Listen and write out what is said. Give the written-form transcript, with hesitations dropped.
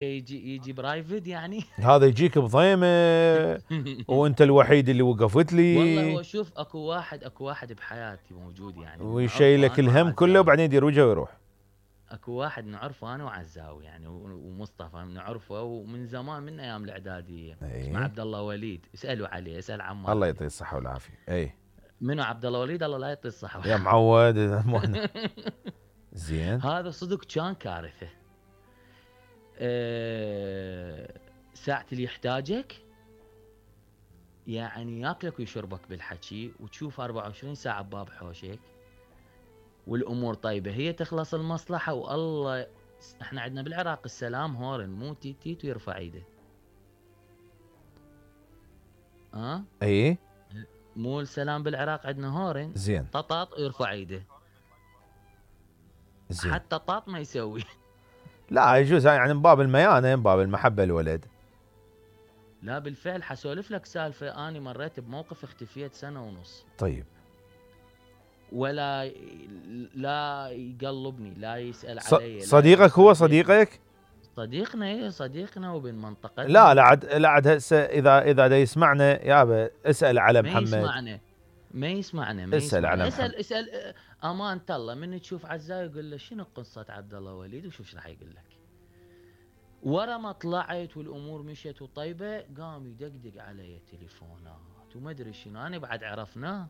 يجي برايفت يعني. هذا يجيك بضيمه وانت الوحيد اللي وقفت والله لي هو شوف اكو واحد بحياتي موجود يعني نعرفه ويشيلك انا الهم كله وعزاوي. وبعدين يدير وجهه ويروح. اكو واحد نعرفه انا وعزاوي يعني ومصطفى نعرفه ومن زمان من ايام الاعداديه. اسمه اي عبد الله وليد، اسالوا عليه، اسال عمار الله عليه. يعطيه الصحه والعافيه. اي منو عبد الله وليد؟ الله لا يعطيه الصحه. يا معود زين. هذا صدق كان كارثه. ساعة اللي يحتاجك يعني ياكلك ويشربك بالحكي، وتشوف 24 ساعة بباب حوشك والامور طيبة، هي تخلص المصلحة والله. احنا عندنا بالعراق السلام هورن، مو تيت تيت ويرفع ايده. اي مو السلام بالعراق عندنا هورن، زين طاط ويرفع ايده. زين. حتى طاط ما يسوي. لا يجوز يعني من باب الميانه، من باب المحبه الولد. لا بالفعل حسولف لك سالفة، اني مريت بموقف اختفيت سنة ونص. طيب. ولا لا يقلبني، لا يسأل علي، لا صديقك هو يوصل بيتي. صديقك؟ صديقنا، ايه صديقنا وبين لا منطقتنا. لا عاد لا عاد هسه اذا دا يسمعنا يابا اسال على ما محمد. يسمعنا ما يسمعنا ما اسال على يسمعنا. محمد. اسال امانة الله، من تشوف عزاي يقول له شنو قصة عبد الله وليد وشوف ايش راح يقول لك. ورا ما طلعت والامور مشيت وطيبه، قام يدقدق علي تليفونات وما ادري شنو، انا بعد عرفناه